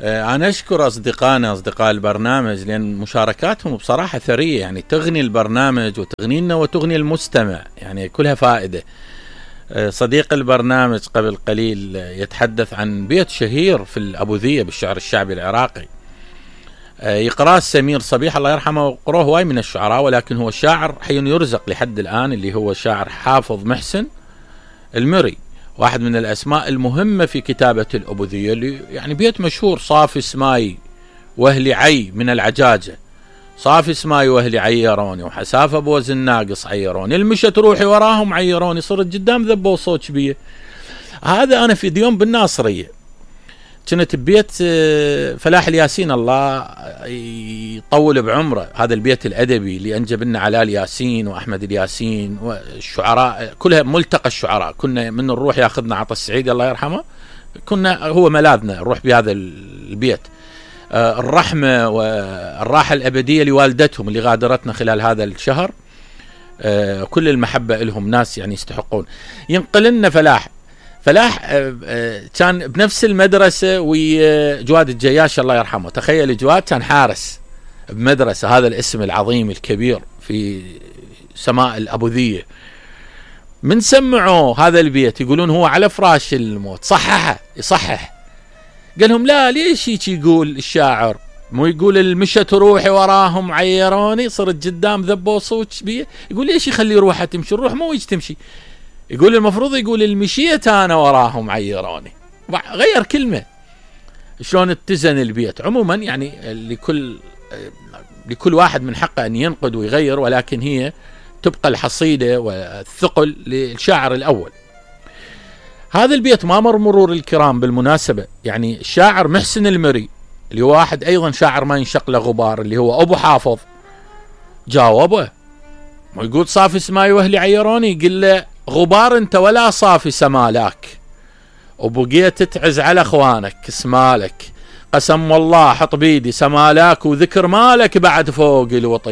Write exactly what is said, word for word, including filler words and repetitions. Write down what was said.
أنا أشكر أصدقائنا أصدقاء البرنامج لأن مشاركاتهم بصراحة ثرية، يعني تغني البرنامج وتغنينا وتغني المستمع، يعني كلها فائدة. صديق البرنامج قبل قليل يتحدث عن بيت شهير في الأبوذية بالشعر الشعبي العراقي، يقرأ سمير صبيح الله يرحمه، وقروه هواي من الشعراء، ولكن هو شاعر حي يرزق لحد الآن، اللي هو شاعر حافظ محسن المري، واحد من الأسماء المهمة في كتابة الأبوذية، اللي يعني بيت مشهور: صافي سماي وهلي عي من العجاجة، صافي سماي وهلي عيروني، وحسافة بوزن ناقص عيروني، المشت روحي وراهم عيروني، صرت قدام ذبوا صوت بيه. هذا أنا في ديوم بالناصرية كنت ببيت فلاح الياسين، الله يطول بعمره، هذا البيت الأدبي اللي أنجب لنا علاء الياسين وأحمد الياسين والشعراء كلها، ملتقى الشعراء. كنا من نروح ياخذنا عطا السعيد الله يرحمه، كنا هو ملاذنا نروح بهذا البيت. الرحمة والراحة الأبدية لوالدتهم اللي غادرتنا خلال هذا الشهر، كل المحبة لهم، ناس يعني يستحقون. ينقل لنا فلاح فلاح كان بنفس المدرسة وجواد الجياش الله يرحمه. تخيل جواد كان حارس بمدرسة، هذا الاسم العظيم الكبير في سماء الأبوذية. من سمعوا هذا البيت يقولون هو على فراش الموت صححه يصحح، قال لهم لا، ليش هيك يقول الشاعر؟ مو يقول المشت روحي وراهم عيروني، صرت قدام ذبوا صوت بيه، يقول ليش يخلي روحه تمشي؟ الروح مو يجي تمشي، يقول المفروض يقول المشيت انا وراهم عيروني، غير كلمة. شلون اتزن البيت؟ عموما يعني لكل لكل واحد من حقه ان ينقد ويغير، ولكن هي تبقى الحصيدة والثقل للشاعر الأول. هذا البيت ما مر مرور الكرام بالمناسبة، يعني الشاعر محسن المري اللي هو واحد أيضا شاعر ما ينشق له غبار، اللي هو أبو حافظ، جاوبه ويقول صافي سماي وهلي عيروني، يقول له غبار انت ولا صافي سمالاك، وبقيت تعز على اخوانك اسمالك، قسم والله حط بيدي سمالاك، وذكر مالك بعد فوق الوطي